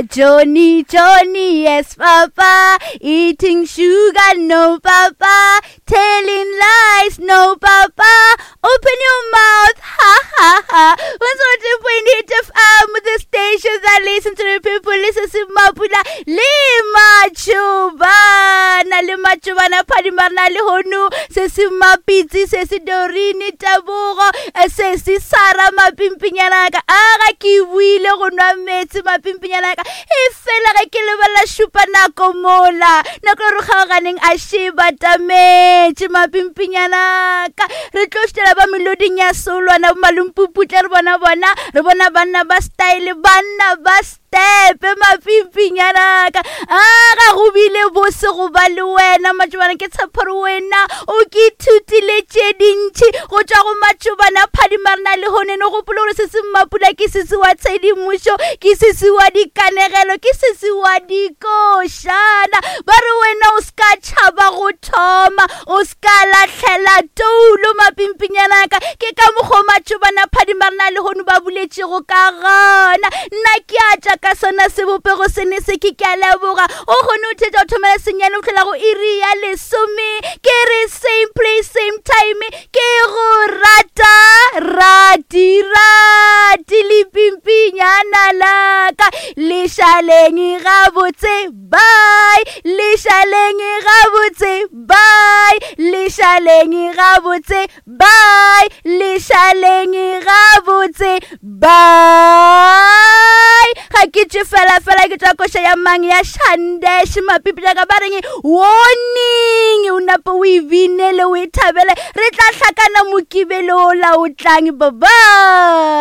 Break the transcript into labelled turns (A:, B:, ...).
A: Johnny, Johnny, yes, Papa. Eating sugar, no, Papa. Telling lies, no, Papa. Open your mouth, ha, ha, ha. 102.8 FM, the station that listen to the people, listen to Mapula, le Machubana, le Machubana, Phadimarna, le Honu, se se Mapitsi, se se Dorine, Tabogo, se se Sara, Mapimpinyana, ka a ga ke buile go nwa meetse mapimpinyana ka e fela ge ke lebelela šupa nako mola nako e re kgaoganeng a še batametše mapimpinyana ka re tlo šitela ba meloding ya solwana bo malompuputle re bona bona re bona banna ba style banna ba stepe mapimpinyana ka a ga go bile bose go ba le wena matšobana ke tshepo gore wena o ke ithutile tše dintši go tšwa go matšobana phadimarena le honene gopolo gore se se mmapula ke sese wa tshedimošo ke sese wa dikanegelo ke sese wa dikošana ba re wena o se ka tšhaba go thoma o se ka lahlela toulo mapimpinyanaka ke ka mokgwa matšobana phadimarena le hono ba buletšego ka gona nna ke a tša ka sona sebopego sene se ke ke a leboga o kgone o thetša o thomela senyane o tlhola go iri ya lesome ke re same place same time ke go rata rati rati lepimpinyana laka lešaleng gabotse bye lešaleng gabotse bye lešaleng gabotse bye lešaleng gabotse bye ga ke tše fela fela ke tšwa koša ya mang ya shandesh mapipi jaaka ba reng warning o nape o e binele o e thabele re tla hlakana mokibelo o la o tlang bye bye.